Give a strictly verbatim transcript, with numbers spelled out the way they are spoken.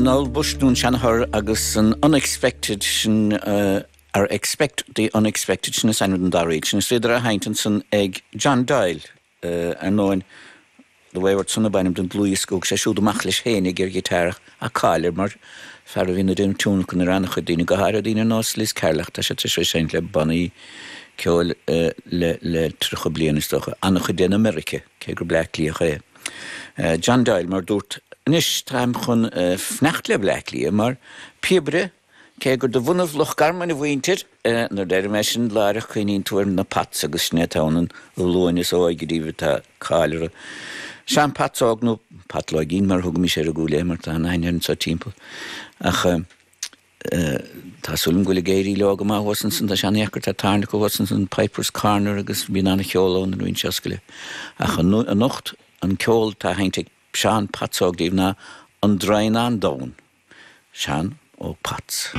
An Noel Bush nó an seanathair agus an Unexpected sin uh, or Expect the Unexpected sin is ainm don dara sin is féidir a sheinnt ansan ag John Doyle uh, ar ndóigh The Wayward Son ab ainm don dlúthdhiosca sé siúd amach leis féinig ar ghiotár a cáil mar fear a bhíonn ag déanamh tionlacan ar an-chuid daoine go háirithe daoine ar nós Liz Carroll tá sé sé seinnt le bannaí ceoil uh, le le tríocha bliain is dócha an-chuid in America cé gur Bleá Cliathach é. Uh, John Doyle mar dúirt anois táim chun uh, fanacht le Bleá Cliath mar píobaire cé gur de bhunadh Loch Garman a mhuintir uh, nuair a deirim é sin láithreach cuimhníonn tú ar na Pats agus sin atá an ghlúin is óige díobh atá cáil air. Seán Pats Óg nó Pat Loigín mar thugaimis air i gCúil Aodha mar tá an aithne sa timpeall ach uh, Tá súil agam go bhfuil ag éirí leo go maith thuas ansan tá sé an-deacair tá tábhairne thuas ansan Piper's Corner agus bíonn an-cheol ann nuair a osclaíonn. Ach anocht an ceol atá seinnte ag Seán Pats Óg daoibh ná an Draighneán Donn. Seán Óg Pats.